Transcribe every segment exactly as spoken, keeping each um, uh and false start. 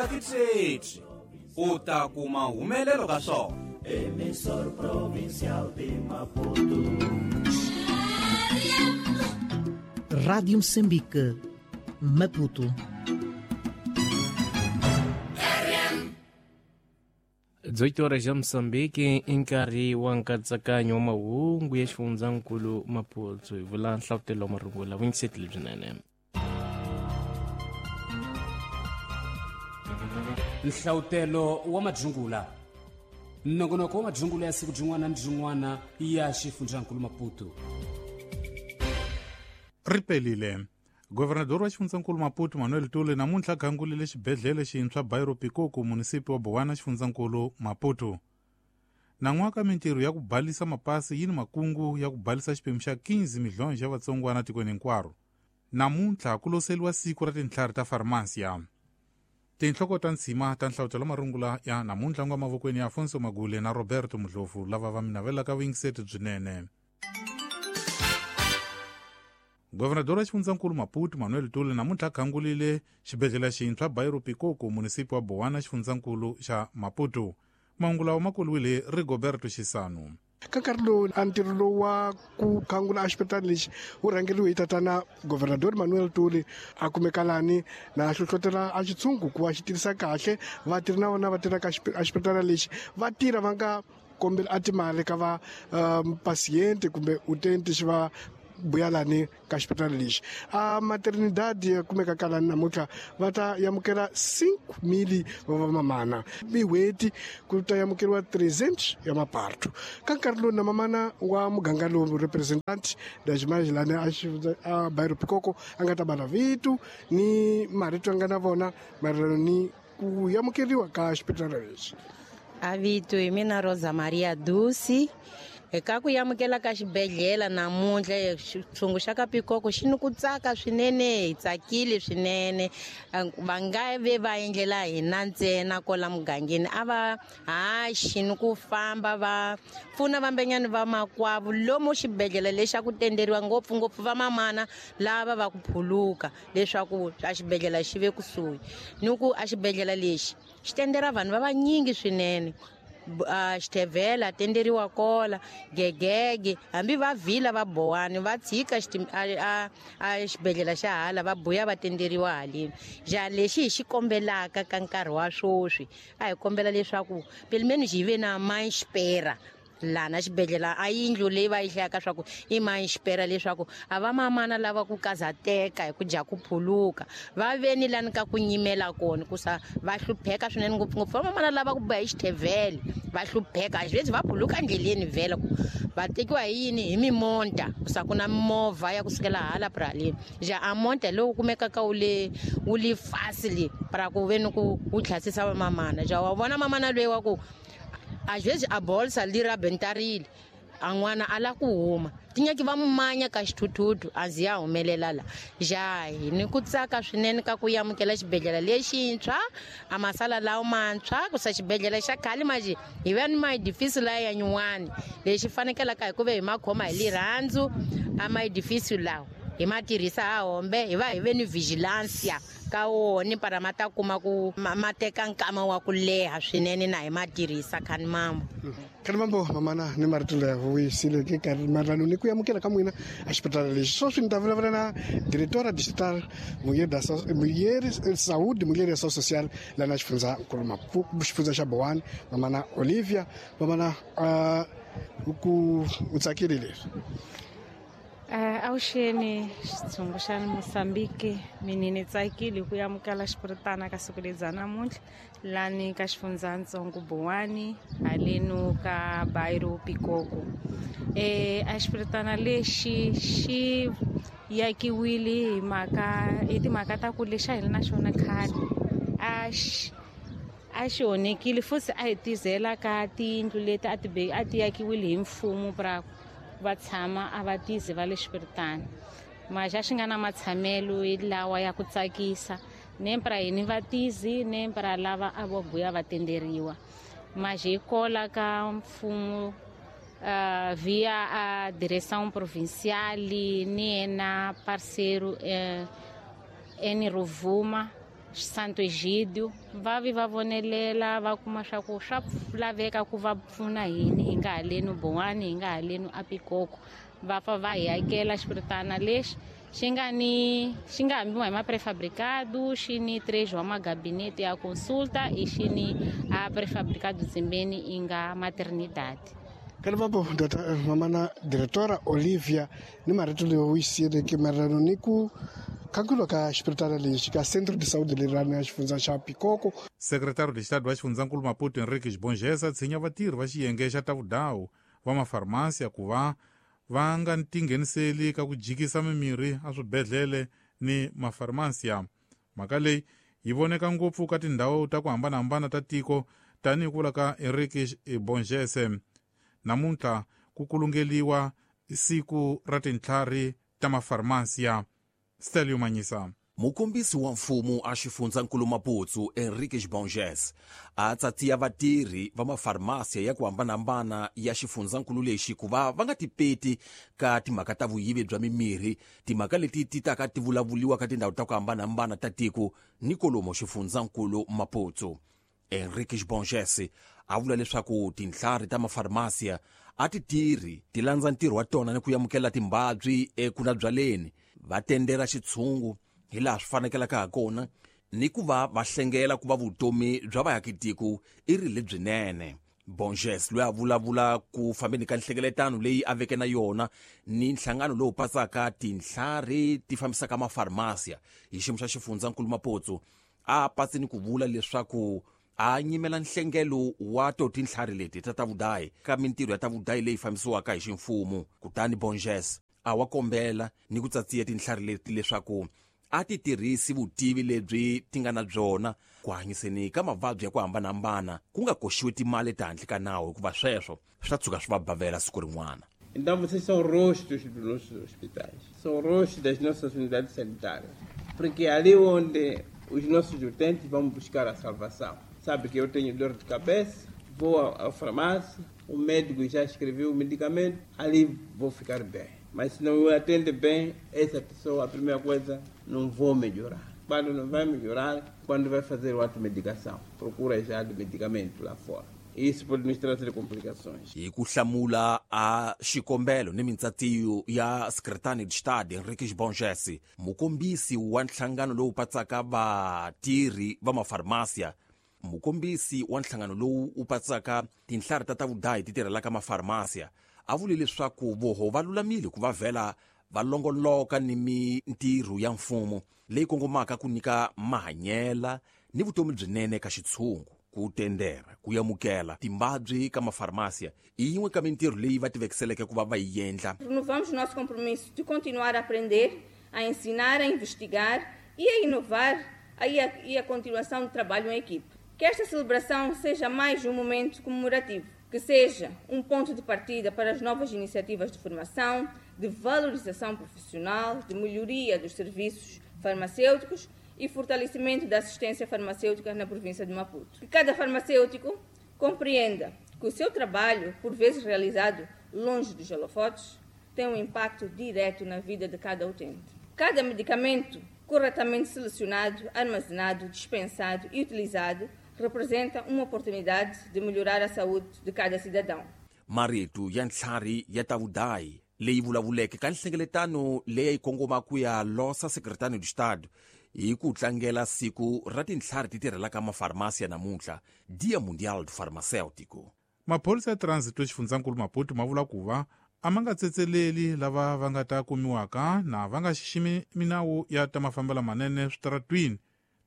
Tirhisa tithethi u ta kuma humelelo ka swona. Emissor Provincial de Maputo. Rádio Moçambique, Maputo. dezoito horas ya Moçambique i nkarhi wa nkatsakanyo wa mahungu ya xifundzankulu Maputo hi vula nhlavutelo wa marungula vuyingiseti lebyinene. Nhlavutelo wa madzungula nongonoko wa madzungula ya siku byin'wana ni byin'wana ya xifundzankulu Maputo. Ripelile. Governador wa xifundzankulu Maputo Manuel Tule namuntlha gangulile xibedhlele xintshwa Bairro Pikoko munisipi wa Bowana xifundzankulu Maputo. Nan'waka mintirho ya ku balisa mapasi yi ni makungu ya ku balisa xiphemu xa quinze milhões xa vatsongwana tikweni hinkwaro. Namuntlha ku loseliwa siku ra tintlhari ta farmasiya. Tinhloko ta ntshima ta nhlavutelo marungula ya namuntlha nga mavokweni ya Afonso Magule na Roberto Mudlovu lava va mi navelaka vuyingiseti byinene. Governador wa xifundzankulu Maputo Manuel Tule namuntlha khangulile xibedhlele xintshwa Bairro Pikoko munisipi wa Bowana xifundzankulu xa Maputo. Mahungu lawa ma koliwile Rigoberto Xisano. Ka nkarhi lowu a ntirho lowu wa ku khangula a xipetana lexi wu rhangeriwe hi tatana Governador Manuel Tule a kumeka lani na hlohlotela a xitshungu ku va xi tirhisa kahle vatirhi na vona va tirhaka a xipetana lexi va tirha va nga kombeli a timali ka va um, pasiente kumbe utente xi va buyalani ka xipatala lexi a maternidad ya kumeka kalani namuntlha va ta amukela cinco mil va vamamana mihweti ku ta amukeriwa trezentos ya maparto ka nkarhi lowu na mamana wa muganga lowu representant das lani a a Bairro Pikoko a nga ta bala vito ni marito a nga na vona maelana ni ku amukeriwa ka xipatala lexi. A vito hi mina Rosa Maria Dusi. Eka ku amukela ka xibedhlele namuntlha xitshungu xa ka Pikoko xi ni ku tsaka swinene, hi tsakile swinene. Va nga ve va endlela hina ntsena kwala mugangeni, a va haxi ni ku famba va pfuna vambenyani va makwavo lomu xibedhlele lexi a ku tenderiwa ngopfungopfu va mamana lava va ku phuluka leswaku a xibedhlele xi ve kusuhi. Ni ku a xibedhlele lexi xi tendera vanhu va vanyingi swinene. Xithevela tenderiwa kola gegege hambi va vhila va bowani va tshika a xibedhlele xa hala va buya va tenderiwa haleni. Ja lexi hi xi kombelaka ka nkarhi wa sweswi a hi kombela leswaku pelimeni xi ve na manxipera lana xibedhlele a yindlu leyi va yi hlayaka swa ku i manxipera leswaku a va mamana lava ku kazateka hi ku dya ku phuluka va ve ni lani ka ku nyimela kona ku sa va hlupheka swinene ngopfungopfu va mamana lava ku boha hi xithevele va hlupheka a xivezi va phuluka ndleleni vhele ku va tekiwa hi yini hi mimonta ku sa ku na mimovha ya kusukela hala praleni ja a monta lowu kumekaka wu le wu le fasi le para ku ve ni ku wu tlhasisa va mamana ja wa vona mamana loyi wa ku a vezes a bolsa li rabentarile a n'wana a la ku huma tinyaki va manya ka xithuthuthu a ndzi ya humelela la ja hi ni ku tsaka swinene ka ku amukela xibedhlele lexintshwa a masala lawo mantshwa ku sa xibedhlele xa khale maji hi va ni maedifisi laya ya nyuwani lexi fanekelaka hi ku ve hi makhoma hi lirhandzu a maedifisi lawa hi ma tirhisa ha hombe hi va hi ve ni vigilancia ka wona para ma ta kuma ku ma teka nkama wa ku leha swinene na hi ma tirhisa khani mambo. Khani mambo mamana ni marito laya vuyisile ke karhi maelana ni ku amukela ka n'wina a xipatala lexi. Sweswi ni ta vulavula na directora digital Mulher Saúde Mulher e Ação Social lá na xifundzankulu Maputo xifundza xa Bowana mamana Olivia mamana ku u tsakile leswi. Uh, awuxeni xitshungu xa Moçambique mina ni tsakile ku amukela xipiritana ka siku lebyi namuntlha lani ka xifundzatsongo Bowani haleno ka Bairro Pikoko. Eh a xipiritana lexi xi yakiwile hi mhaka hi timhaka ta ku lexa hi na xona khale a xi a xi onhekile futhi a hi tizela ka tiyindlu leti a ti a ti yakiwile hi mfumo pra va tshama a va tizi va le xipiritana maxa xi nga na matshamelo lawa ya ku tsakisa nempra yini va tizi nempra lava a vo buya va tenderiwa maxa hi kola ka mfumo uh, via a direção provincial ni na parceiro uh, eni Rovuma Santo Egídio va vi va vonelela va kuma swa ku swa laveka ku va pfuna hini hi nga haleni Bowani hi nga haleni a Pikoko va pfa va hi akela xipiritana lexi xi nga ni xi nga hambiwa hi ma-prefabricado xi ni três wa magabinete ya consulta e xi ni a prefabricado tsimbeni i nga maternidade. Kalvapo data mamana diretora Olivia ni marito leyi wu yisiyeleke mayelana ni ku khankhulwa ka xipiritana lexi ka Centro de Saúde lerani ya xifundza xa Pikoko. Secretário de Estado wa xifundzankulu Maputo Henrique Bongesa tshinya vatirhi va xiyenge xa ta vudawu va mafarmasiya ku va va nga tingheniseli ka ku jikisa mimirhi a swibedhlele ni mafarmasiya. Mhaka leyi yi voneka ngopfu ka tindhawu ta ku hambanahambana ta tiko tanihi ku vula ka Henrique Bongese. Namuntlha ku kulungeliwa siku ra tintlhari ta mafarmasiya. Stelio Manyisa. Mukombisi wa mfumo a xifundzankulu Maputo Henrique Bonges a tsatsiya vatirhi va mafarmasiya ya ku hambanahambana ya xifundzankulu lexi ku va va nga tipeti ka timhaka ta vuyivi bya mimirhi, timhaka leti ti taka ti vulavuliwa ka tindhawu ta ku hambanahambana ta tiko ni kolomo xifundzankulu Maputo. Henrique Bonges a vula leswaku tintlhari ta mafarmasiya a ti tirhi ti landza ntirho wa tona ni ku amukela timbabyi ekunabyaleni, va tendera xitshungu hi laha swi fanekelaka ha kona ni ku va va hlengela ku va vutomi bya vaakitiko i ri lebyinene. Bonges loyi a vulavula ku fambeni ka nhlengeletano leyi a veke na yona ni nhlangano lowu pasaka tintlhari ti fambisaka mafarmasiya hi xiyimo xa xifundzankulu Maputo a patsi ni ku vula leswaku a nyimela nhlengelo wa to tintlhari leti ta ta vudayi ka mintirho ya ta vudayi leyi fambisiwaka hi ximfumo. Kutani Bonges a wa kombela ni ku tsatsiya tintlhari leti leswaku a ti tirhisi vutivi lebyi ti nga na byona ku hanyiseni ka mavabyi ya ku hambanahambana ku nga koxiwi timali ehandle ka nawu hikuva sweswo swi ta tshuka swi va bavela siku rin'wana. Então vocês são rostos dos nossos hospitais, são rostos das nossas unidades sanitárias, porque é ali onde os nossos utentes vão buscar a salvação. Sabe que eu tenho dor de cabeça, vou à farmácia, o médico já escreveu o medicamento, ali vou ficar bem. Mas se não me atende bem, essa pessoa, a primeira coisa, não vou melhorar. Quando não vai melhorar, quando vai fazer automedicação, procura já de medicamento lá fora. Isso pode nos trazer complicações. Hi ku hlamula a xikombelo ni mintsatiyo ya Secretário de Estado Henrique Bonges, mukombisi wa nhlangano lowu patsaka vatirhi va mafarmasiya, mukombisi wa nhlangano lowu wu patsaka tinhlari ta ta vudayi ti tirhelaka mafarmasiya a vule leswaku voho va lulamile ku va vhela va longoloka ni mintirho ya mfumo leyi kongomaka ku nyika mahanyela ni vutomi byinene ka xitshungu. Ku tendera ku amukela timbabyi ka mafarmasiya i yin'we ka mintirho leyi va tivekiseleke ku va va yi endla. Renovamos nosso compromisso de continuar a aprender, a ensinar, a investigar e a inovar e a, e a continuação do trabalho em equipe. Que esta celebração seja mais um momento comemorativo, que seja um ponto de partida para as novas iniciativas de formação, de valorização profissional, de melhoria dos serviços farmacêuticos e fortalecimento da assistência farmacêutica na província de Maputo. Que cada farmacêutico compreenda que o seu trabalho, por vezes realizado longe dos holofotes, tem um impacto direto na vida de cada utente. Cada medicamento corretamente selecionado, armazenado, dispensado e utilizado representa uma oportunidade de melhorar a saúde de cada cidadão. Marito ya ntlhari ya ta vudayi leyi vulavuleke ka nhlengeletano leyi yi kongoma ku ya losa Secretário de Estado hi ku tlangela siku ra tintlhari ti tirhelaka mafarmasiya namuntlha, Dia Mundial do Farmacêutico. Maphorisa ya transit xifundzankulu Maputo ma vula ku va a ma nga tsetseleli lava va nga ta kumiwaka na va nga xiximi minawu ya ta mafambelo manene switaratwini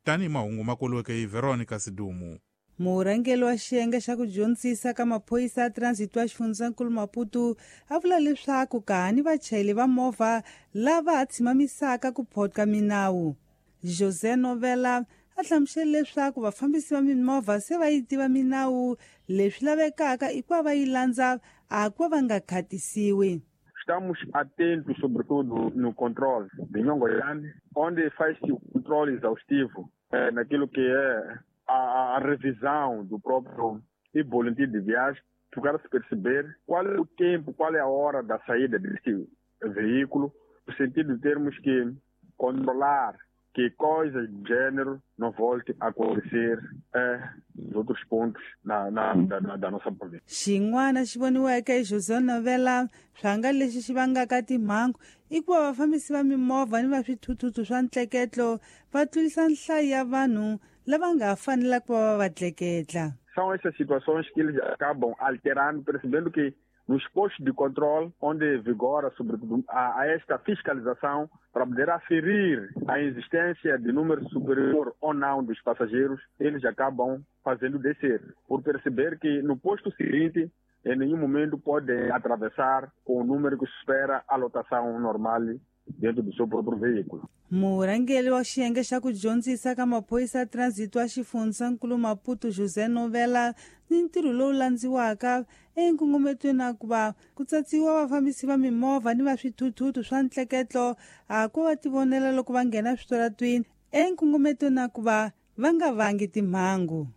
tanihi mahungu ma koliweke hi Veronica Sidumu. Murhangeri wa xiyenge xa ku dyondzisa ka maphorisa ya transit wa xifundzankulu Maputo a vula leswaku kahani vachayeri va movha lava ha tshimamisaka ku photka minawu. José Novela a hlamusele leswaku vafambisi va mimovha se va yi tiva minawu, leswi lavekaka i ku va va yi landza a ku va va nga khatisiwi. Estamos atentos, sobretudo, no controle de Nhongoyane, onde faz-se o controle exaustivo é, naquilo que é a, a revisão do próprio boletim de viagem, para se perceber qual é o tempo, qual é a hora da saída deste veículo, no sentido de termos que controlar que coisas de gênero não volte a acontecer eh, nos outros pontos na, na, da, da, da nossa província. Xin'wana xi voniweke hi José Novela swanga lexi xi vangaka timhangu i ku va vafambisi va mimovha ni va swithuthuthu swa ntleketlo va tlurisa nhlayo ya vanhu lava nga fanelaka ku va va va tleketla. São essas situações que eles acabam alterando, percebendo que nos postos de controle, onde vigora, sobretudo, a, a esta fiscalização, para poder aferir a existência de número superior ou não dos passageiros, eles acabam fazendo descer, por perceber que no posto seguinte, em nenhum momento podem atravessar com o número que supera a lotação normal dentro do seu próprio veículo. Murhangeri wa xiyenge xa ku dyondzisa ka maphorisa ya transit wa xifundzankulu Maputo José Novela ni ntirho lowu landziwaka enkongometweni wa ku va ku tsatsiwa vafambisi va mimovha ni va swithuthuthu swa ntleketlo a ku va tivonela loko va nghena switaratwini enkongometweni wa ku va va nga vangi timhangu.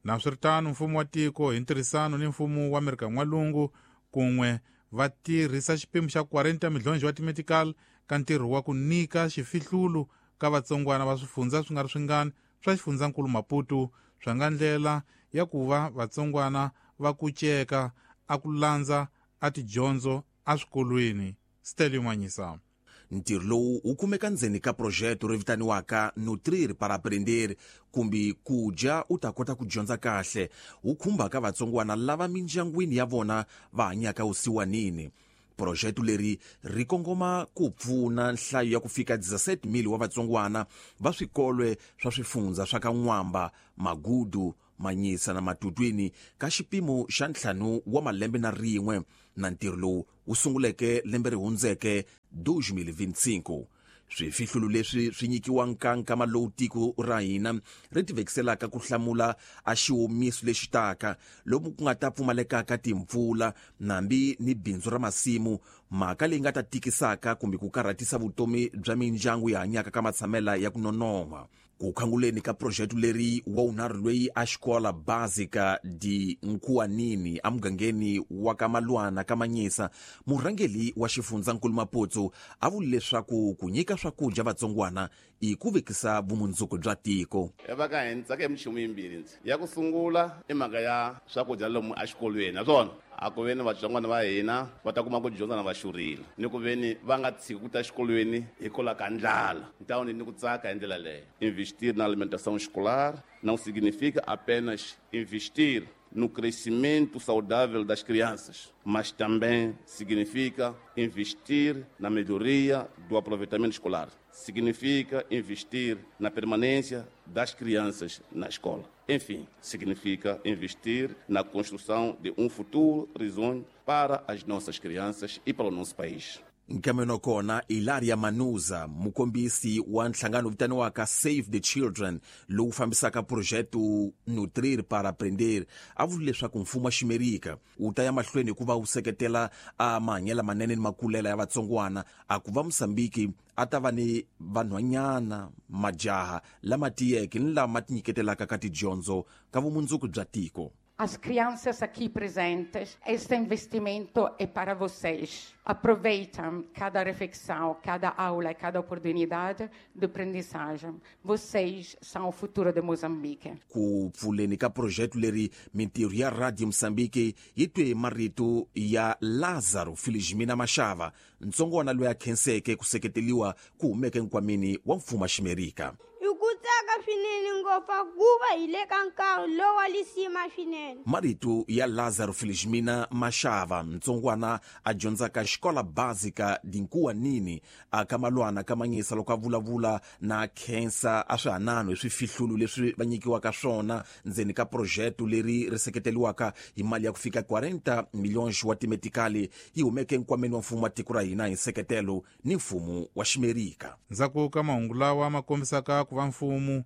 Naswiritano, mfumo wa tiko hi ntirhisano ni mfumo wa Amerika N'walungu kun'we va tirhisa xipimo xa quarenta milhonji wa timetical ka ntirho wa ku nyika xifihlulu ka vatsongwana va swifundza swi nga ri swingani swa xifundzankulu Maputo swa nga ndlela ya ku va vatsongwana va kuceka a ku landza a tidyondzo eswikolweni. Stelio Manyisa. Ntirho lowu wu kumeka ndzeni ka projeto ri vitaniwaka Nutrir para Aprender, kumbe ku dya u ta kota ku dyondza kahle, wu khumbaka vatsongwana lava mindyangwini ya vona va hanyaka vusiwanini. Projeto leri ri kongoma ku pfuna nhlayo ya ku fika dezesete mil wa vatsongwana va swikolwe swa swifundza swa ka N'wamba, Magudu, Manyisa na Matutwini ka xipimo xa ntlhanu wa malembe na rin'we, na ntirho lowu wu sunguleke lembe ri hundzeke dois mil e vinte e cinco. Swifihlulu leswi swi nyikiwa nkankama lowu tiko ra hina ri tivekiselaka ku hlamula a xiwomiso lexi taka lomu ku nga ta pfumalekaka timpfula nambi ni bindzu ra masimu, mhaka leyi nga ta tikisaka kumbe ku karhatisa vutomi bya mindyangu yi hanyaka ka matshamela ya ku nonoha. Ku khanguleni ka projeto leri wa wunharhu loyi a xikola básica de Nkuanini emugangeni wa ka Malwana ka Manyisa, murhangeri wa xifundzankulu Maputo a vule leswaku ku nyika swakudya vatsongwana i ku vekisa vumundzuku bya tiko. Va ka hina tsaka minchumu yimbirhi ndzi ya ku sungula i mhaka ya swakudya lomu exikolweni, naswona a ku veni vatsongwana va hina va ta kuma ku dyondza na va xurile, ni ku veni va nga tshiki ku ta exikolweni hikwalaho ka ndlala. Ntawuni ni ku tsaka hi ndlela leyo. Investir na alimentação escolar não significa apenas investir no crescimento saudável das crianças, mas também significa investir na melhoria do aproveitamento escolar. Significa investir na permanência das crianças na escola. Enfim, significa investir na construção de um futuro risonho para as nossas crianças e para o nosso país. Nkameno kona Ilaria Manuza, mukombisi wa nhlangano vitaniwaka Save the Children lowu fambisaka projeto Nutrir para Aprender, a vule leswaku mfumo wa Ximerika wu ta ya mahlweni ku va wu seketela a mahanyelo manene ni makulela ya vatsongwana, a ku va Mosambiki a ta va ni vanhwanyana majaha lama tiyeke ni lama tinyiketelaka ka tidyondzo ka vumundzuku bya tiko. As crianças aqui presentes, este investimento é para vocês. Aproveitem cada refeição, cada aula e cada oportunidade de aprendizagem. Vocês são o futuro de Moçambique. Ku pfuleni ka projeto leri mintirho ya Radio Moçambique yi twe marito ya Lázaro Felizmina Mashava, ntsongwana loyi a khenseke ku seketeliwa ku humeke nkwameni wa mfumo wa Ximerika. Ku tsaka swinene ngopfu kuva hi le ka nkarhi lowa lisima swinene. Marito ya Lázaro Felizmina Mashava, ntsongwana a dyondzaka xikola básica de Nkuanini a ka Malwana ka Manyisa, loko a vulavula na khensa a swihanano hi swifihlulu leswi va nyikiwaka swona ndzeni ka projeto leri ri seketeliwaka hi mali ya ku fika quarenta milhões wa timetikali yi humeke nkwameni wa mfumo wa tiko ra hina hi nseketelo ni mfumo wa Ximerika. Ndzhaku ka mahungu lawa ma kombisaka ku va mfumo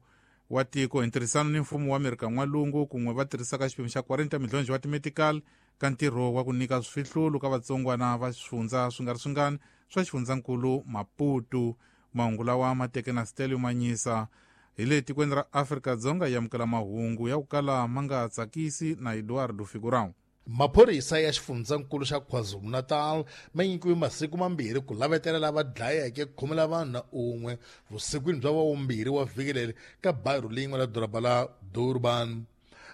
wa tiko hi ntirhisano ni mfumo wa Amerika N'walungu kun'we va tirhisaka xipimo xa quarenta milhonji wa timetical ka ntirho wa ku nyika swifihlulu ka vatsongwana va swifundza swi nga ri swingani swa xifundzankulu Maputo. Mahungu lawa ma teke na Stelio Manyisa. Hi le tikweni ra Afrika-Dzonga yi amukela mahungu ya ku kala ma nga tsakisi na Eduardo Figurão. Maphorisa ya xifundzankulu xa KwaZulu-Natal ma nyikiwe masiku mambirhi ku lavetela lava dlayeke khume la vanhu na un'we vusikwini bya wavumbirhi wa vhiki leri ka bayiro lin'we la doroba la Durban.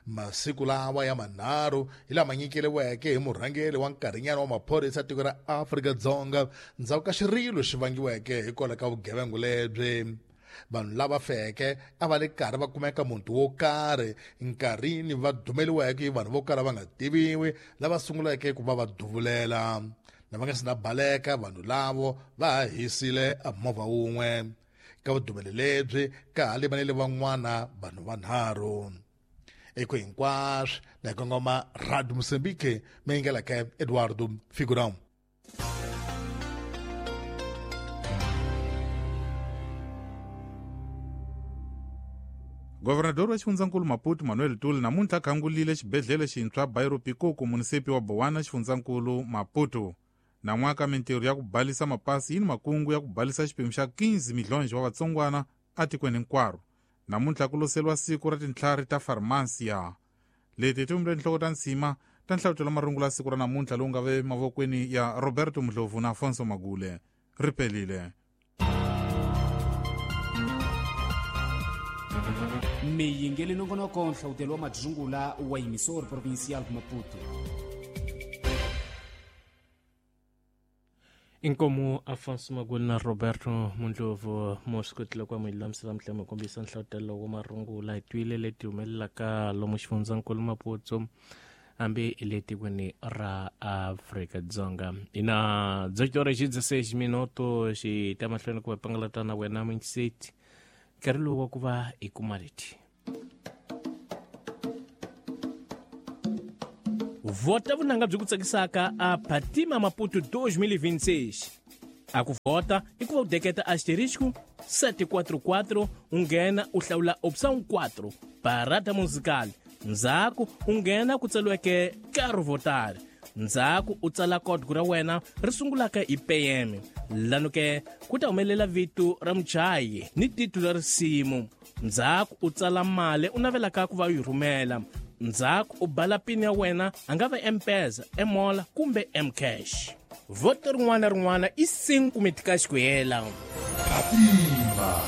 Masiku lawa ya manharhu hi lama nyikeriweke hi murhangeri wa nkarhinyana wa maphorisa ya tiko ra Afrika-Dzonga ndzhaku ka xirilo xi vangiweke hikwalaho ka vugevenga lebyi. Vanhu lava feke a va le karhi va kumeka muti wo karhi nkarhini va dumeliweke hi vanhu vo kala va nga tiviwi lava sunguleke ku va va duvulela. Na va nga si na baleka vanhu lavo va ha hisile a movha wun'we. Ka vudumeli lebyi ka ha limanele van'wana vanhu vanharhu. Eko hinkwaswo na kongoma Radio Moçambique meyingeleke Eduardo Figurão. Governador wa xifundzankulu Maputo Manuel Tuli namuntlha khangulile xibedhlele xintshwa Bairro Pikoko munisipi wa Bowana xifundzankulu Maputo. Nan'waka mintirho ya ku balisa mapasi yi ni makungu ya ku balisa xiphemu xa quinze milhonji wa vatsongwana atikweni hinkwaro. Namuntlha ku loseriwa siku ra tintlhari ta farmasiya. Leti ti vumbile tinhloko ta nsima ta nhlavutelo marungula siku ra namuntlha lowu nga ve mavokweni ya Roberto Mdlovu na Afonso Magule. Ri pelile. Miyingeli nongonoko nhlawutelo wa madzungula wa emissor provincial Maputo. Inkomo Afonso Magule na Roberto Mundlovu moswi kwa milulamisela mhlamo kombisa nhlawutelo wa marungula hi twile leti humelelaka lomu xifundzankulu Maputo hambi le tikweni ra Afrika-Dzonga. Ina dezoito horas e dezesseis minutos xi ta mahlweni ku va pangalata na wena Minset. Nkarhi lowu wa ku va hi kuma leti. Vota vunanga byi ku tsakisaka a Fatima Maputo dois mil e vinte e seis. A ku vota i ku va u deketa asterisco sete quatro quatro, u nghena u hlawula opção quatro, parada musical. Ndzhaku u nghena ku tsariweke Quero votar. Ndzhaku u tsala código ra wena ri sungulaka hi P M. Lano ke ku ta humelela vito ra muchayi ni titulu ra risimu. Ndzhaku u tsala mali u navelaka ku va u yi rhumela. Ndzhaku u bala pin ya wena a nga va M-Pesa, M-Mola kumbe M-Cash. Voto rin'wana na rin'wana i cinco meticais ku hela. Fatima.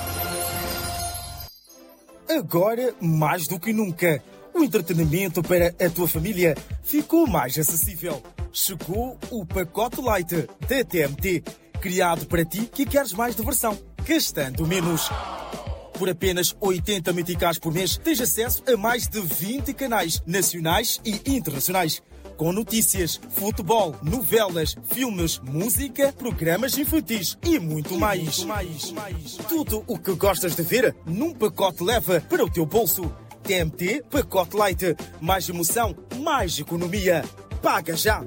Agora mais do que nunca, o entretenimento para a tua família ficou mais acessível. Chegou o pacote Light da T M T, criado para ti que queres mais diversão, gastando menos. Por apenas oitenta meticais por mês, tens acesso a mais de vinte canais nacionais e internacionais, com notícias, futebol, novelas, filmes, música, programas infantis e muito e mais. muito mais. mais. Tudo o que gostas de ver num pacote leva para o teu bolso. T M T Pacote Light. Mais emoção, mais economia. Paga já!